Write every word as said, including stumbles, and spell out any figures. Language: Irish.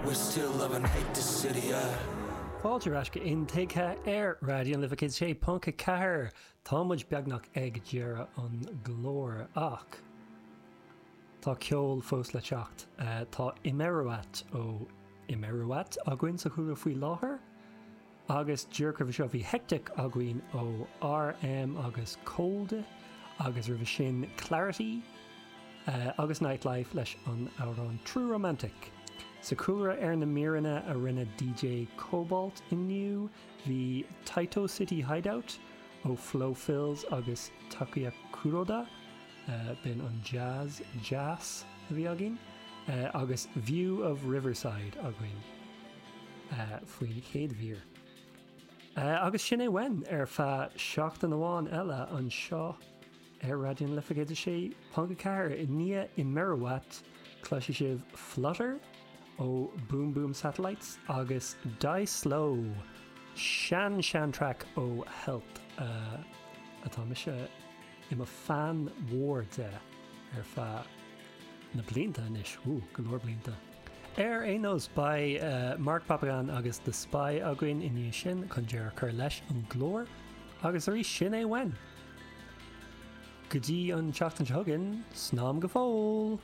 We still love and hate the city, yeah. Fáilte ar ais go Intuigthe ar Raidió na Life céad sé ponc a ceathair Tá muid beagnach ag deireadh an chláir ach Tá ceol fós le teacht uh, tá Imeruat ó Imeruat againn sa chúlra faoi láthair agus díreach roimhe seo bhí Hectic againn ó RM agus Cold agus roimhe sin Clarity uh, agus Nightlife leis an amhrán True Romantic. Sa chúlra ar na míreanna a rinne DJ Cobalt inniu bhí Taito City Hideout ó Flo Fills agus Takuya Kuroda uh, b'in an jazz jazz a bhí againn uh, agus View of Riverside againn uh, faoin chéad mhír. Uh, agus sin é uainn ar feadh seachtain amháin eile anseo ar Raidió na Life céad sé ponc a ceathair i ndiaidh Imeruat cloisfidh sibh Flutter ó Boom Boom Satellites agus Die Slow sean sean track ó Health uh, atá mise i mo fan mhór de ar feadh na blianta anois ú go leor blianta. Ar aon nós beidh uh, Mark Papagan agus The Spy againn inniu sin chun deireadh a chur leis an gclár agus arís sin é uainn. Go dtí an tseachtain seo chugainn, slán go fóill!